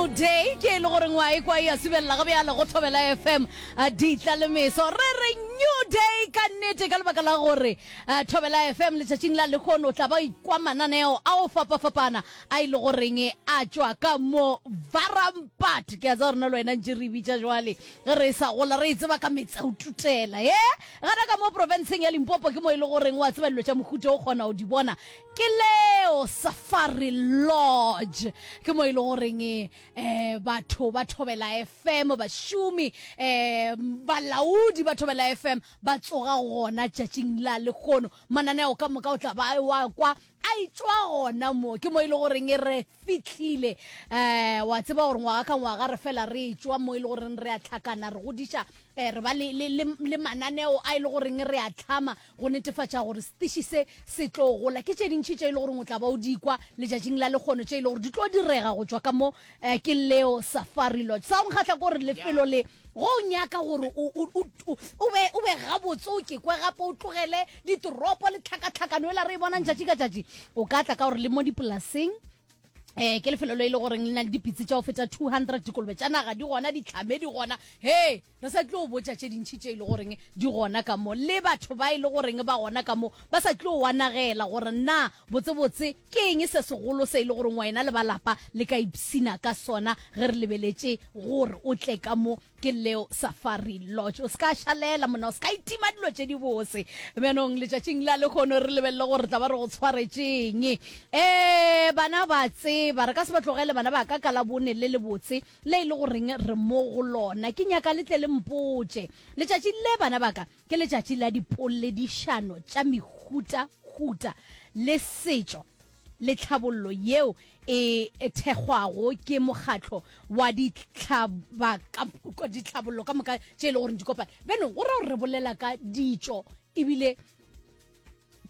New Day ke e le goreng wa ekwa e a subelela ga bjale go Thobela FM ditla le meso. Re re New Day ka nnete ka lebaka la gore Thobela FM letšatšing la lehono o tla ba ikwa mananeo a go fapafapana a e le goreng a tšwa ka mo Varampat. Ke a tseba gore na le wena ntše re e bitša jwale ge re sa gola re e tseba ka metse o tutela. He gana ka mo profenseng ya Limpopo ke mo e le goreng wa tseba dilo tša mohuta o kgona go di bona Ke leo Safari Lodge. Ke mo e le goreng um batho ba Thobela FM, bašomi, um balaodi ba Thobela FM ba tsoga gona tšatšing la lehono. Mananeo ka moka o tla ba wa kwa a etšwa gona mo. Ke mo e le goreng re fihlile. Um wa tseba gore ngwaga ka ngwaga re fela re etšwa mo e le goreng re a hlakana, re godiša, um re ba le, le, le, le mananeo a e le goreng re a hlama Go netefatša gore setiši se se tlo gola, ke tše dintši tše e le goreng o tla ba o di kwa letšatšing la lekgono tše e le gore di tlo direga go tšwa ka mo ke leo Safari Lodge. Sa go nkgahla ke gore lefelo le go o nyaka gore o, o, o, o be, o be gabotse o ke kwe gape o tlogele ditoropo le tlhakatlhakano ela re e bonang tšatši ka tšatši, o ka tla ka gore le mo dipolaseng um ke lefelo le e le goreng le na le dipitsi tša go feta 200 dikolobe tša naga di gona ditlhame di gona he re sa tlo botša tše dintšhi tše e le goreng di gona ka mo le batho ba e le goreng ba gona ka mo ba sa tlo wanagela gore na botsebotse ke eng se segolo se e le goreng wena le ba lapa le ka ipsina ka sona ge re lebeletše gore o tle ka mo Ke leo Safari Lodge. O se ka šalela monna, o se ka itima dilo tše di bose. Bjanong letšatšing la lehono re lebelele gore re tla ba re go tshwaretšeng. Ee, bana ba tseba, re ka se ba tlogele bana ba ka ka Labone le lebotse le e le goreng re mo go lona. Ke nyaka le tle le mpotše. Letšatši le bana ba ka ke letšatši la dipoledišano tša mehutahuta le setšo. le tlhabollo yeo e thekgwago ke mokgatlo wa ditlhabollo ka moka tše e le goreng di kopane. Bjanong go ra gore re bolela ka ditšo ebile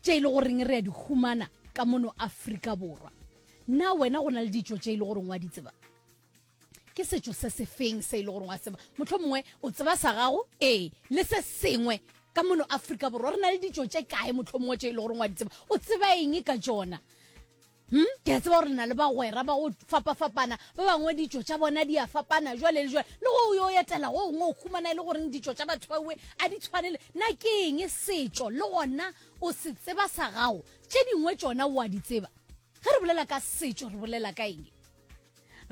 tše e le goreng re a di humana ka mono Afrika Borwa. Na wena go na le ditšo tše e le goreng wa di tseba? Ke setšo se sefeng se e le gore wa tseba? Mohlomongwe o tseba sa gago, ee, le se sengwe ka mono Afrika Borwa. Re na le ditšo tše kae mohlomongwe tše e le gore wa di tseba? O tseba eng ka tšona? Hmm? Ke a tseba gore le na le bagwera ba go fapafapana, ba bangwe ditšo tša bona di a fapana jwale le jwale. Le go o yo etela go gongwe o humana e le goreng ditšo tša batho bawe a di tshwane le na ke eng setšo le gona o se tseba sa gago, tše dingwe tšona o a di tseba. Ge re bolela ka setšo re bolela ka eng?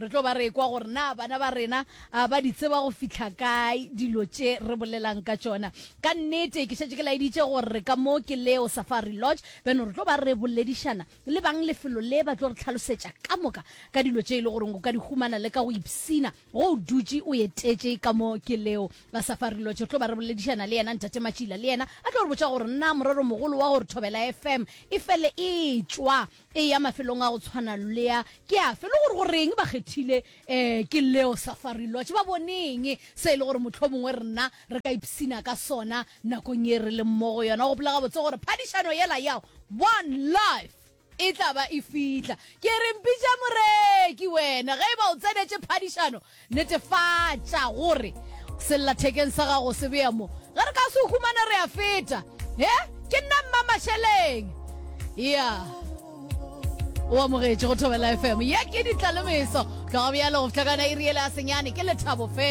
Re tlo ba re ekwa gore na bana ba rena ba di tseba go fihla kae dilo tše re bolelang ka tšona. Ka nnete ke šetše ke laeditše gore re ka mo ke Leo Safari Lodge, bjano re tlo ba re boledišana le bang lefelo le ba tlo re hlalosetša ka moka ka dilo tše e le goreng o ka di humana le ka go ipshina go o dutše o etetše ka mo ke Leo Safari Lodge. Re tlo ba re boledišana le yena Ntate Matšila le yena a tlo re botša gore na moreromogolo wa gore Thobela FM e fele e tšwa Eya mafelong a go tshwana le a ke afe, le gore goreng ba kgethile um ke leo Safari Lodge. Ba boneng se e le gore mohlomongwe rena re ka ipshina ka sona nakong ye re leng mo go yona. Gopola gabotse gore phadišano yela ya One Life e tla ba e fihla. Ke re mpitša moreki wena ge e ba o tsenetše phadišano. Netefatša gore sellathekeng sa gago se bea mo. Ge re ka se o humana re a feta. He, ke nna Mma Masheleng. Ya. O amogetše go Thobela FM. Ye ke Ditlalemeso. Tloga bjalo go fihla ka yona iri yela ya senyane. Ke lethabo fela.